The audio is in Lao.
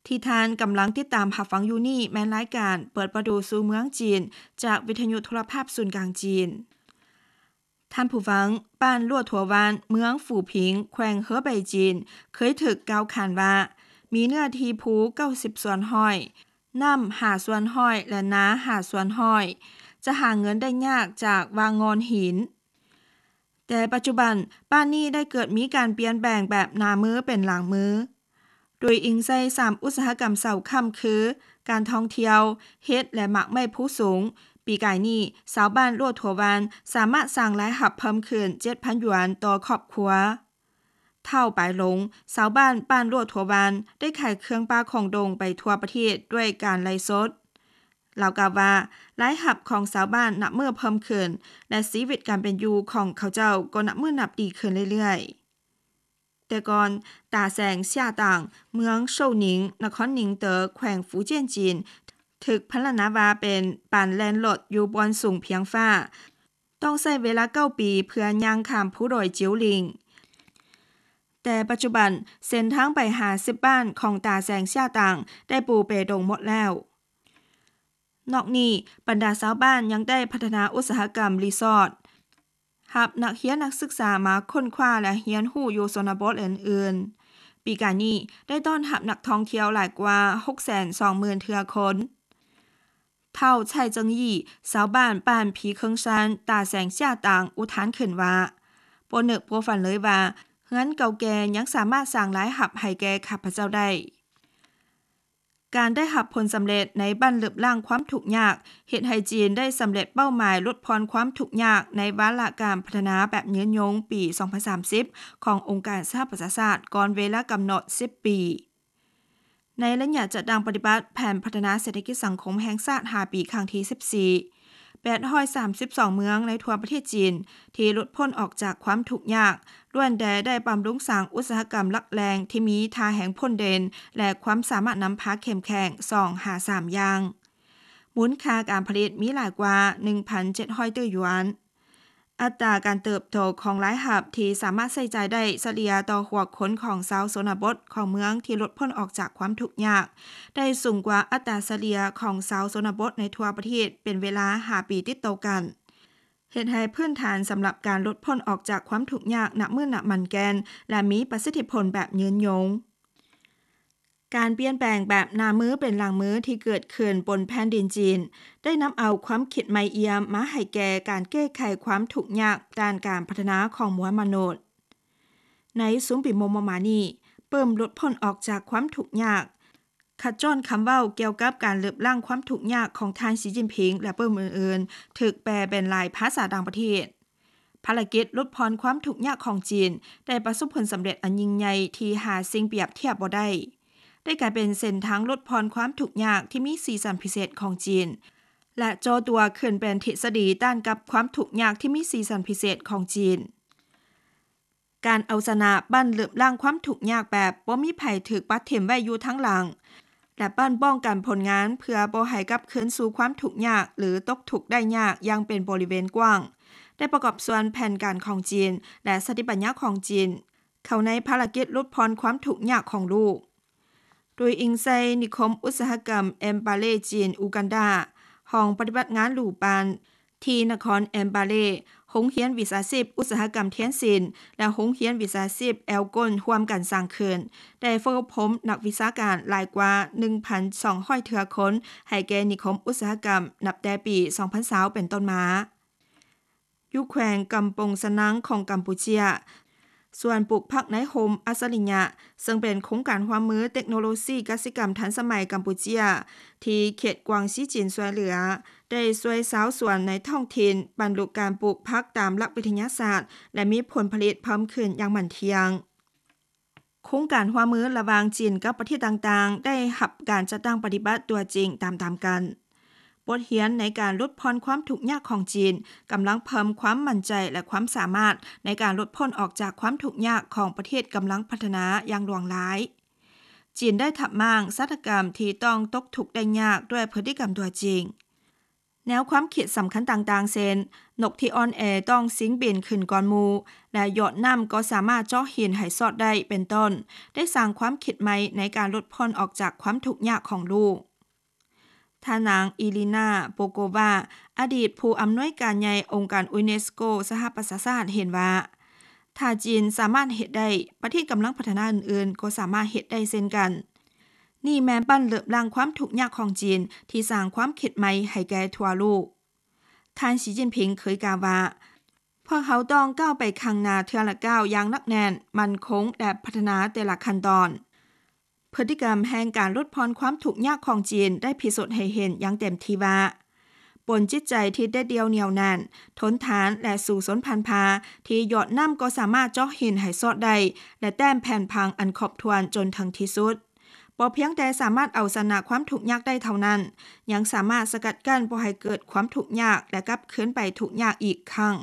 ທີ່ທ່ານກຳລັງຕິດຕາມຮັບຟັງຢູ່ນີ້ແມ່ນລາຍການເປີດປະຕູສູ່ເມືອງຈີນ ຈາກວິທະຍຸໂທລະພາບສູນກາງຈີນ. ທ່ານຜູ້ຟັງ, ບ້ານຫຼວດຫົວວານ ເມືອງຟູຜິງ ແຂວງເຮີໄບຈີນ ເຄີຍຖືກກ່າວຂານວ່າ ມີເນື້ອທີ່ພູເກົ້າສິບສ່ວນຮ້ອຍ, ນ້ຳຫ້າສ່ວນຮ້ອຍ ແລະ ນາຫ້າສ່ວນຮ້ອຍ, ຈະຫາເງິນໄດ້ຍາກຈາກວ່າງງອນຫີນ. ແຕ່ປັດຈຸບັນ ບ້ານນີ້ໄດ້ເກີດມີການປ່ຽນແປງແບບໜ້າມືເປັນຫຼັງມື. ໂດຍອີງໃສ່ສາມອຸດສາຫະກຳເສົາຄ້ຳຄື ການທ່ອງທ່ຽວ, ເຫັດ ແລະ ໝາກໄມ້ພູສູງ, ປີກາຍນີ້ ຊາວບ້ານຫຼວດຫົວວານ ສາມາດສ້າງລາຍຮັບເພີ່ມຂຶ້ນເຈັດພັນຢວນຕໍ່ຄອບຄົວ. ທ້າວປາຍຫຼົງ, ຊາວບ້ານບ້ານຫຼວດຫົວວານ ໄດ້ຂາຍເຄື່ອງປ່າຂອງດົງໄປທົ່ວປະເທດດ້ວຍການໄລຟ໌ສົດ. ລາວກ່າວວ່າ ລາຍຮັບຂອງຊາວບ້ານນັບມື້ເພີ່ມຂຶ້ນ ແລະ ຊີວິດການເປັນຢູ່ຂອງເຂົາເຈົ້າກໍນັບມື້ນັບດີຂຶ້ນເລື້ອຍໆ. ແຕ່ກ່ອນ ຕາແສງເຊຍຕາງ ເມືອງໂຊໜິງ ນະຄອນໜິງເຕີ ແຂວງຟູຈຽນຈີນ ຖືກພັນລະນາວ່າເປັນປານແລ່ນລົດຢູ່ບ່ອນສູງພຽງຟ້າ, ຕ້ອງໃຊ້ເວລາເກົ້າປີເພື່ອຍ່າງຂ້າມພູດອຍຈິວລິງ. ແຕ່ປັດຈຸບັນ ເສັ້ນທາງໄປຫາສິບບ້ານຂອງຕາແສງເຊຍຕາງ ໄດ້ປູເປຕົງໝົດແລ້ວ. ນອກນີ້ ບັນດາຊາວບ້ານຍັງໄດ້ພັດທະນາອຸດສາຫະກຳຣີສອດ, ຮັບນັກຮຽນນັກສຶກສາມາຄົ້ນຄວ້າ ແລະ ຮຽນຮູ້ຢູ່ຊົນນະບົດ ແລະ ອື່ນໆ. ປີກາຍນີ້ ໄດ້ຕ້ອນຮັບນັກທ່ອງທ່ຽວຫຼາຍກວ່າຫົກແສນສອງໝື່ນເທື່ອຄົນ. ທ້າວໄຊເຈິງຢີ ຊາວບ້ານບ້ານຜີເຄິງຊານ ຕາແສງເຊຍຕາງ ອຸທານຂຶ້ນວ່າ ບໍ່ນຶກບໍ່ຝັນເລີຍວ່າ ເຮືອນເກົ່າແກ່ຍັງສາມາດສ້າງລາຍຮັບໃຫ້ແກ່ຂ້າພະເຈົ້າໄດ້. ການໄດ້ຮັບຜົນສຳເລັດໃນບັ້ນລຶບລ້າງຄວາມທຸກຍາກ ເຮັດໃຫ້ຈີນໄດ້ສຳເລັດເປົ້າໝາຍຫຼຸດຜ່ອນຄວາມທຸກຍາກໃນວາລະການພັດທະນາແບບຍືນຍົງປີສອງພັນສາມສິບ ຂອງອົງການສະຫະປະຊາຊາດ ກ່ອນເວລາກຳນົດສິບປີ. ໃນໄລຍະຈັດຕັ້ງປະຕິບັດແຜນພັດທະນາເສດຖະກິດສັງຄົມແຫ່ງຊາດຫ້າປີ ຄັ້ງທີສິບສີ່ ແປດຮ້ອຍສາມສິບສອງເມືອງໃນທົ່ວປະເທດຈີນ ທີ່ຫຼຸດພົ້ນອອກຈາກຄວາມທຸກຍາກ ລ້ວນແຕ່ໄດ້ບຳລຸງສ້າງອຸດສາຫະກຳຫຼັກແຫຼ່ງທີ່ມີທ່າແຮງພົ້ນເດັ່ນ ແລະ ຄວາມສາມາດນຳພາເຂັ້ມແຂງ ສອງຫາສາມຢ່າງ. ມູນຄ່າການຜະລິດມີຫຼາຍກວ່າໜຶ່ງພັນເຈັດຮ້ອຍຕື້ຢວນ. ອັດຕາການເຕີບໂຕຂອງລາຍຮັບທີ່ສາມາດໃຊ້ຈ່າຍໄດ້ສະເລ່ຍຕໍ່ຫົວຄົນຂອງຊາວຊົນນະບົດຂອງເມືອງທີ່ຫຼຸດພົ້ນອອກຈາກຄວາມທຸກຍາກ ໄດ້ສູງກວ່າອັດຕາສະເລ່ຍຂອງຊາວຊົນນະບົດໃນທົ່ວປະເທດເປັນເວລາຫ້າປີຕິດຕໍ່ກັນ, ເຮັດໃຫ້ພື້ນຖານສຳລັບການຫຼຸດພົ້ນອອກຈາກຄວາມທຸກຍາກນັບມື້ນັບໝັ້ນແກ່ນ ແລະ ມີປະສິດທິຜົນແບບຍືນຍົງ. ການປ່ຽນແປງແບບໜ້າມືເປັນຫຼັງມືທີ່ເກີດຂຶ້ນບົນແຜ່ນດິນຈີນ ໄດ້ນຳເອົາຄວາມຄິດໃໝ່ອ່ຽມມາໃຫ້ແກ່ການແກ້ໄຂຄວາມທຸກຍາກດ້ານການພັດທະນາຂອງມວນມະນຸດ. ໃນຊຸມປີມໍ່ໆມານີ້ ປຶ້ມຫຼຸດພົ້ນອອກຈາກຄວາມທຸກຍາກ, ຂັດຈ້ອນຄຳເວົ້າກ່ຽວກັບການລຶບລ້າງຄວາມທຸກຍາກຂອງທ່ານ ສີຈິ້ນຜິງ ແລະ ປຶ້ມອື່ນໆ ຖືກແປເປັນຫຼາຍພາສາຕ່າງປະເທດ. ພາລະກິດຫຼຸດຜ່ອນຄວາມທຸກຍາກຂອງຈີນ ໄດ້ປະສົບຜົນສຳເລັດອັນຍິ່ງໃຫຍ່ທີ່ຫາສິ່ງປຽບທຽບບໍ່ໄດ້, ໄດ້ກາຍເປັນເສັ້ນທາງຫຼຸດຜ່ອນຄວາມທຸກຍາກທີ່ມີສີສັນພິເສດຂອງຈີນ ແລະ ຈໍຕົວຂຶ້ນເປັນທິດສະດີຕ້ານກັບຄວາມທຸກຍາກທີ່ມີສີສັນພິເສດຂອງຈີນ. ການເອົາຊະນະບັ້ນລຶບລ້າງຄວາມທຸກຍາກແບບບໍ່ມີໃຜຖືກປະຖິ້ມໄວ້ຢູ່ທາງຫຼັງ ແລະ ບັ້ນປ້ອງກັນຜົນງານເພື່ອບໍ່ໃຫ້ກັບຄືນສູ່ຄວາມທຸກຍາກ ຫຼື ຕົກທຸກໄດ້ຍາກຢ່າງເປັນບໍລິເວນກວ້າງ ໄດ້ປະກອບສ່ວນແຜນການຂອງຈີນ ແລະ ສະຕິປັນຍາຂອງຈີນ ເຂົ້າໃນພາລະກິດຫຼຸດຜ່ອນຄວາມທຸກຍາກຂອງໂລກ. ໂດຍອີງໃສ່ນິຄົມອຸດສາຫະກຳເອັມປາເລຈີນ ອູກັນດາ, ຫ້ອງປະຕິບັດງານຫຼູປານ ທີ່ນະຄອນເອັມປາເລ, ໂຮງຮຽນວິຊາຊີບອຸດສາຫະກຳທຽນຊິນ ແລະ ໂຮງຮຽນວິຊາຊີບແອວກົນຮ່ວມກັນສ້າງຂຶ້ນ, ໄດ້ຝຶກອົບຮົມນັກວິຊາການຫຼາຍກວ່າໜຶ່ງພັນສອງຮ້ອຍເທື່ອຄົນ ໃຫ້ແກ່ນິຄົມອຸດສາຫະກຳ ນັບແຕ່ປີສອງພັນຊາວເປັນຕົ້ນມາ. ຢູ່ແຂວງກຳປົງຊະນັງຂອງກຳປູເຈຍ, ສວນປູກຜັກໃນຮົ່ມອັດສະລິຍະ ເຊິ່ງເປັນໂຄງການຮ່ວມມືເຕັກໂນໂລຊີກະສິກຳທັນສະໄໝກຳປູເຈຍ ທີ່ເຂດກວາງຊີຈີນຊ່ວຍເຫຼືອ ໄດ້ຊ່ວຍຊາວສວນໃນທ້ອງຖິ່ນບັນລຸການປູກຜັກຕາມຫຼັກວິທະຍາສາດ ແລະ ມີຜົນຜະລິດເພີ່ມຂຶ້ນຢ່າງໝັ້ນທ່ຽງ. ໂຄງການຮ່ວມມືລະຫວ່າງຈີນກັບປະເທດຕ່າງໆ ໄດ້ຮັບການຈັດຕັ້ງປະຕິບັດຕົວຈິງຕາມໆກັນ. ບົດຮຽນໃນການຫຼຸດຜ່ອນຄວາມທຸກຍາກຂອງຈີນ ກຳລັງເພີ່ມຄວາມໝັ້ນໃຈ ແລະ ຄວາມສາມາດໃນການຫຼຸດພົ້ນອອກຈາກຄວາມທຸກຍາກຂອງປະເທດກຳລັງພັດທະນາຢ່າງຫຼວງຫຼາຍ. ຈີນໄດ້ທັບມ້າງຊາຕາກຳທີ່ຕ້ອງຕົກທຸກໄດ້ຍາກດ້ວຍພຶດຕິກຳຕົວຈິງ. ແນວຄວາມຄິດສຳຄັນຕ່າງໆ ເຊັ່ນ ນົກທີ່ອ່ອນແອຕ້ອງຊິງບິນຂຶ້ນກ່ອນໝູ່ ແລະ ຢອດນ້ຳກໍສາມາດເຈາະຫີນໃຫ້ຊອດໄດ້ ເປັນຕົ້ນ ໄດ້ສ້າງຄວາມຄິດໃໝ່ໃນການຫຼຸດຜ່ອນອອກຈາກຄວາມທຸກຍາກຂອງລູກ. ທ່ານນາງ ອີລີນາ ໂປໂກວາ ອະດີດຜູ້ອຳນວຍການໃຫຍ່ອົງການຢູເນສໂກສະຫະປະຊາຊາດ ເຫັນວ່າ ຖ້າຈີນສາມາດເຮັດໄດ້, ປະເທດກຳລັງພັດທະນາອື່ນໆ ກໍສາມາດເຮັດໄດ້ເຊັ່ນກັນ. ນີ້ແມ່ນບັ້ນເລິບລ້າງຄວາມທຸກຍາກຂອງຈີນ ທີ່ສ້າງຄວາມຄິດໃໝ່ໃຫ້ແກ່ທົ່ວໂລກ. ທ່ານ ສີຈິ້ນຜິງ ເຄີຍກ່າວວ່າ ພວກເຮົາຕ້ອງກ້າວໄປຂ້າງໜ້າເທື່ອລະກ້າວຢ່າງໜັກແໜ້ນ, ໝັ້ນຄົງ ແລະ ພັດທະນາແຕ່ລະຂັ້ນຕອນ. ພຶດຕິກຳແຫ່ງການຫຼຸດຜ່ອນຄວາມທຸກຍາກຂອງຈີນ ໄດ້ພິສູດໃຫ້ເຫັນຢ່າງເຕັມທີ່ວ່າ ບົນຈິດໃຈທີ່ເດັດດ່ຽວໜຽວແໜ້ນ, ທົນທານ ແລະ ສູ້ຊົນພັນຜ່າ ທີ່ຢອດນ້ຳກໍສາມາດເຈາະຫີນໃຫ້ຊອດໄດ້ ແລະ ແຕ້ມແຜ່ນຜັງອັນຄົບຖ້ວນຈົນເຖິງທີ່ສຸດ. ບໍ່ພຽງແຕ່ສາມາດເອົາຊະນະຄວາມທຸກຍາກໄດ້ເທົ່ານັ້ນ, ຍັງສາມາດສະກັດກັ້ນບໍ່ໃຫ້ເກີດຄວາມທຸກຍາກ ແລະ ກັບຄືນໄປທຸກຍາກອີກຄັ້ງ.